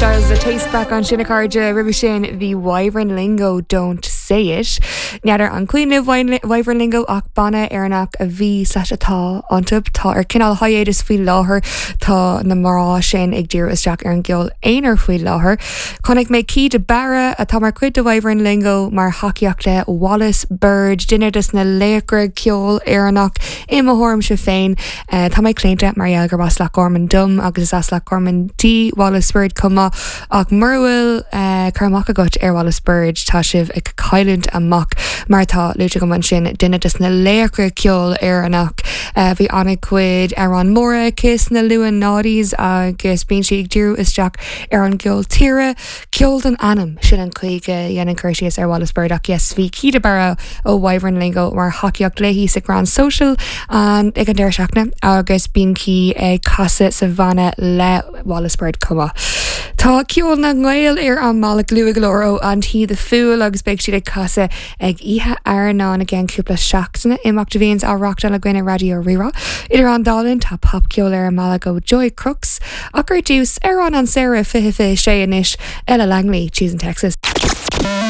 Styles le Taste Back ansin a chairde roimhe sin bhí Wyvern Lingo Don't Say It. N'fheadar an cuimhin libh Wyvern Lingo ach banna Éireannach a bhí slash atá iontu. Tá ar cineál hiatus faoi láthair. Tá na mná sin ag díriú isteach ar an gceol aonair faoi láthair. Chonaic mé Caoi de Barra, atá mar chuid de Wyvern Lingo, mar thacaíocht le Wallis Bird, duine des na laochra ceoil Éireannach i mo thuairimse féin. Tá mé claonta mar gheall gurb as Loch Garman dom agus is as Loch Garman di Wallis Bird chomh maith ach mura bhfuil cur amach agat ar Wallis Bird tá sibh ag cailliúint amach mar atá luaite agam ansin, duine des na laochra ceoil Éireannach. Bhí an-chuid amhrán móra aici sna luath noughties agus bíonn sí ag díriú isteach ar an gceol tíre, ceol don anam, sin an chaoi go ndéanaim cur síos ar Wallis Bird ach yes, bhí Caoi de Barra ó Wyvern Lingo mar thacaíocht léi sa Grand Social an ag an deireadh seachtaine agus bíonn Caoi ag casadh sa bhanna le Wallis Bird chomh maith. Tá ceol na nGael ar an mbealach luath go leor ó Auntie the Fool agus beidh siad ag casadh Ag Oíche Airneáin i gceann cúpla seachtaine, imeacht a bhíonns á reachtáil againn ar Raidió Rí-Rá. Idir an dá linn, tá popcheol ar an mbealach ó Joy Crookes, ach ar dtús, amhrán an samhradh 2026 anois, Ella Langley, Choosing Texas.